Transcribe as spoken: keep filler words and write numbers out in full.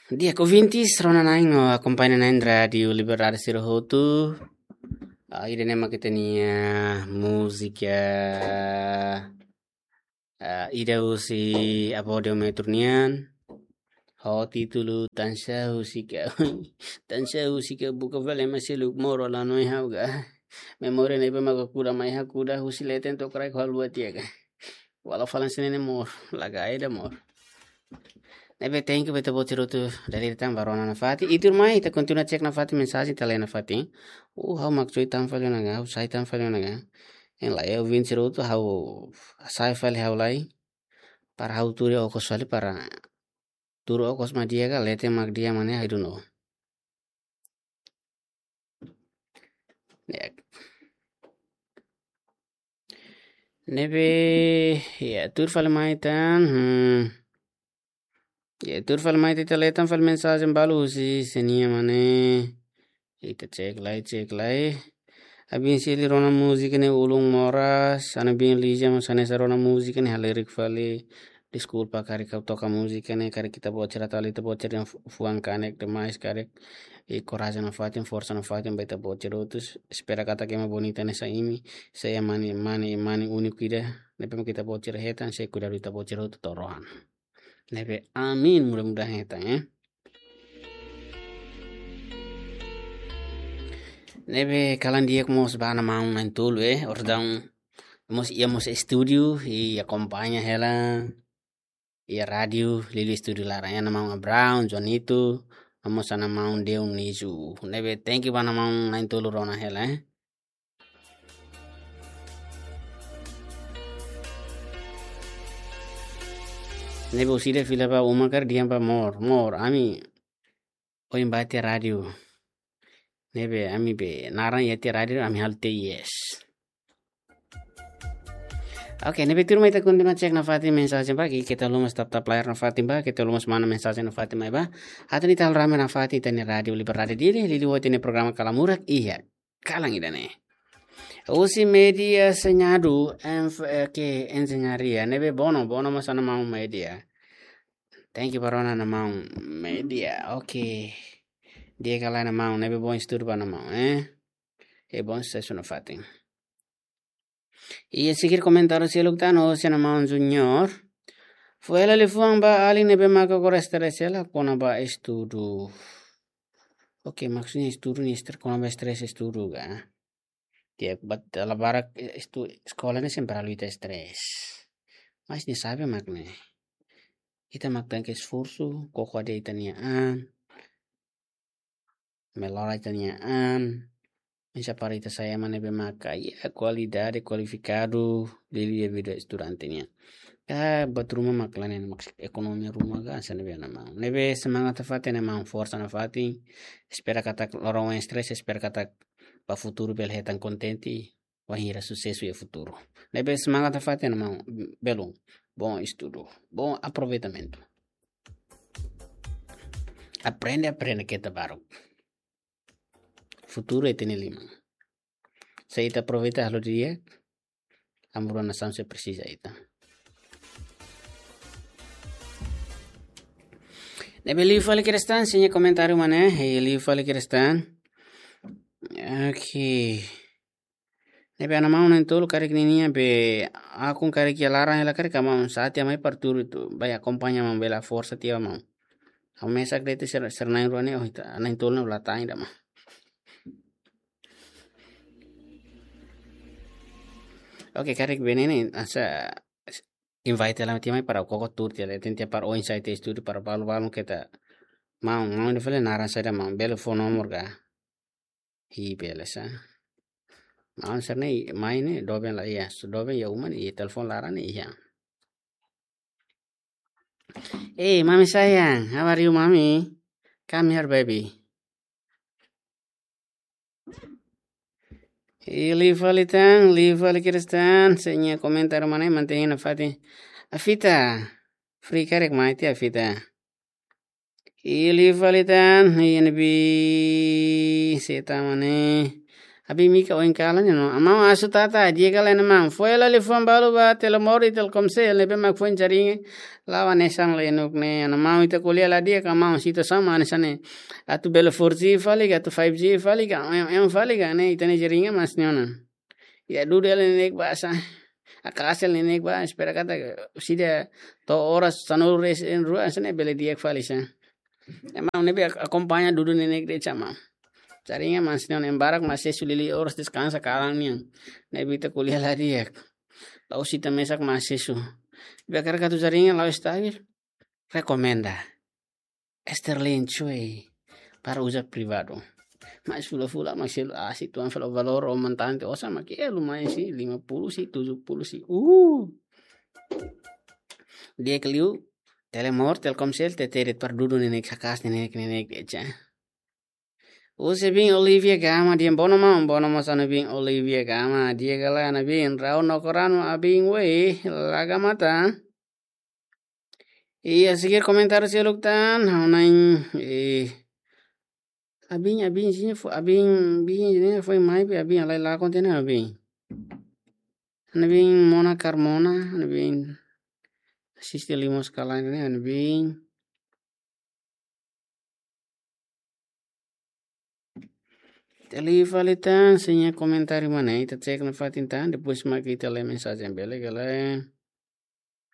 Di'ak, ouvintes, rona na'in no akompaña na'in Rádiu Liberdade sira hotu. Ah, ida-ne'e mak ita-nia múzika, ah, ida husi Abódio Metro nian. Ho títulu Tansá Husik Ha'u. Tansá husik ha'u, buka fali ema seluk, moru la hanoin ha'u ka. Memória ne'ebé maka kuda mai ha'u kuda, husi leten to'o kraik haluha tiha ka. Wala fali hanesan ne'e moru, laga ida moru. Ne'ebé thank you ba ita-boot sira hotu dadeer tan ba rona nafatin. Ita tuirmai, ita kontinua cek nafatin mensajen, ita lee nafatin. Uh, ha'u mak cui tan fali ona ka, ha'u sai tan fali ona ka. Hein lai, ouvintes sira hotu, ha'u sai fali ha'u lai. Para ha'u tuur okos fali para tuur okos mak di'ak ka, leten mak di'ak mak ne'e, I don't know. Ya. Ne'ebé, ya, tuur fali mai tan, hmm. Ya, tuur fali mai tan, ita lee tan fali mensajen balu husi sé nian mak ne'e. Ita cek lai, cek lai. Abin Sili rona múzika ne'e ulun moras, Ana Bin Lija mós hanesan rona múzika ne'e halerik fali. Deskulpa karik ha'u toka múzika ne'e, karik ita-boot sira tali, ita-boot sira fu-, fuan kanek demais karik. I korajen nafatin, forsa nafatin ba ita-boot sira hotu. Espera katak ema bonita hanesan imi, sei iha mane, mane, mane úniku ida. Ne'ebé mak ita-boot sira hetan, sei kuidadu ita-boot sira hotu to'o rohan. Ne'ebé amin, mudah-mudahan hetan, eh. Ne'ebé kalan di'ak mós ba ana maun na'in-tolu, eh, orsida mós iha mós estúdiu, i akompaña hela iha rádiu, liuliu estúdiu laran, iha ana maun Abraão, Joanito, no mós ana maun Dionísio. Ne'ebé thank you ba ana maun na'in-tolu rona hela, eh. Ne'ebé orsida fila ba uma karik dehan ba mor, mor, ami ohin bá tiha rádiu. Ne'ebé ami be naran iha tiha rádiu, ami halo tiha yes. Oke, ne'ebé tuirmai, ita kontinua cek nafatin mensajen ba, ke keta haluha mós tap-tap layar nafatin ba, keta haluha mós mana mensajen nafatin mai ba. Atu ita halo rame nafatin ita-nia Rádiu Liberdade Dili, liuliu ita-nia programa Kalamurak iha kalan ida-ne'e. Husi Média Senhadu, enf-, eh, ke enjeñaria, ne'ebé Bono, Bono mós ana maun Média. Thank you ba rona ana maun Média. Oke. Di'ak ka lae ana maun, ne'ebé bom estudu ba ana maun, eh. E bom susesu nafatin. I seguir komentáriu seluk tan husi ana maun Junior. Fó hela liafuan ba alin ne'ebé maka kora estrese hela kona-ba estudu. Oke, maksudnya estudu ne'e estre-, kona-ba estrese estudu ka. Di'ak, but dala barak, eh, estu-, eskola ne'e sempre halo ita estrese. Mas nia sabe mak ne'e. Ita mak tenke esforsu, koko hadi'a ita-nia an. Melhora ita-nia an. Oinsá para ita sai ema ne'ebé maka iha kualidade, kualifikadu, liuliu iha vida estudante nian. Ka buat ruma mak la iha, mak ekonomia ruma ka hanesan ne'ebé, ana maun. Ne'ebé semangat nafatin, ana maun, forsa nafatin. Espera katak loron oin estrese, espera katak ba futuru bele hetan kontente, wainhira susesu iha futuru. Ne'ebé semangat nafatin, ana maun, belun. Bom estudu, bom aproveitamentu. Aprende, aprende keta baruk. Futuru ita-nia liman. Se ita aproveita halo di'ak, amu-rua nasaun sei presiza ita. Ne'ebé liu fali kedas tan, sé nia komentáriu mak ne'e, eh, liu fali kedas tan. Oke. Ne'ebé ana maun na'in-tolu karik ninia be akun karik iha laran hela karik, maun, sa'e tiha mai para tuur atu bá akompaña maun, bele forsa tiha maun. Ha'u mesak de'it sira, sira na'in-rua ne'e, oh, ita na'in-tolu ne'e la tan ida maun. Oke, karik be ne'e ne'e, hanesan invite hela tiha mai para koko tuur tiha, leten tiha para oinsá ita estudu para balu-balu keta. Maun, maun ida fali naran saida maun, bele fó nomor ka. Hi bele sa. Maun sira ne'e mai ne'e doben la iha, so doben iha uma ne'e, iha telefone laran ne'e iha. Hey, mommy sayang, how are you, mommy? Come here, baby. Ih, liu fali tan, liu fali kedas tan, sé nia komentáriu mak ne'e, mantein nafatin. Afita, free karik mai tiha Afita. Ih, liu fali tan, ih, ne'ebé sé tan mak ne'e. Abin Mika oin kalan ne'e no. Amau asu tata, di'ak ka lae, amau. Foin hela liafuan balu ba Telemor i Telkomsel, ne'ebé mak foin jaringan la'o hanesan lenuk ne'e. Amau ita ko'alia la di'ak, amau situasaun mak hanesan ne'e. Atu bele four G fali ka, atu five G fali ka, em, em fali ka, ne'e ita-nia jaringan mak hanesan ne'e ona. Ita dudu hela neineik bá sá. Haka'as hela neineik bá, espera katak orsida to'o oras sanulu-resin-rua hanesan ne'e bele di'ak fali sá. Ema ne'ebé ak-, akompaña dudu neineik de'it sá, amau. Jaringan mak hanesan ne'e ona, ema barak mak asesu liuliu oras deskansa kalan nian. Ne'ebé ita ko'alia la di'ak. La'ós ita mesak mak asesu. Ne'ebé hakarak atu jaringan la'o estabil, rekomenda Starlink cuy, para uza privadu. Mas fulan-fulan mak selu asi tuan falo valór o montante osan mak, eh, lumayan sih, lima puluh sih, tujuh puluh sih. Uh. Di'ak liu, Telemor, Telkomsel, T T de'it para dudu neineik, haka'as neineik, neineik de'it sá. Husi Bin Olivia Gama, di'ak, bono maun, bono mós ha'u-nia Bin Olivia Gama, di'ak ka lae, ha'u-nia Bin, Raul Nokorano, abin we, la Gama tan. Iha, sekian komentáriu seluk tan, ha'u-nia, eh, abin, abin, sini fo, abin, bin, sini fo mai, abin, alai la konten abin. Ha'u-nia Bin Mona Carmona, ha'u-nia Bin asiste liu mós kalan ne'e, ha'u-nia Bin. Ita liu fali tan, se iha komentáriu mak ne'e, ita cek nafatin tan, depois mak ita lee mensajen, bele ka lae.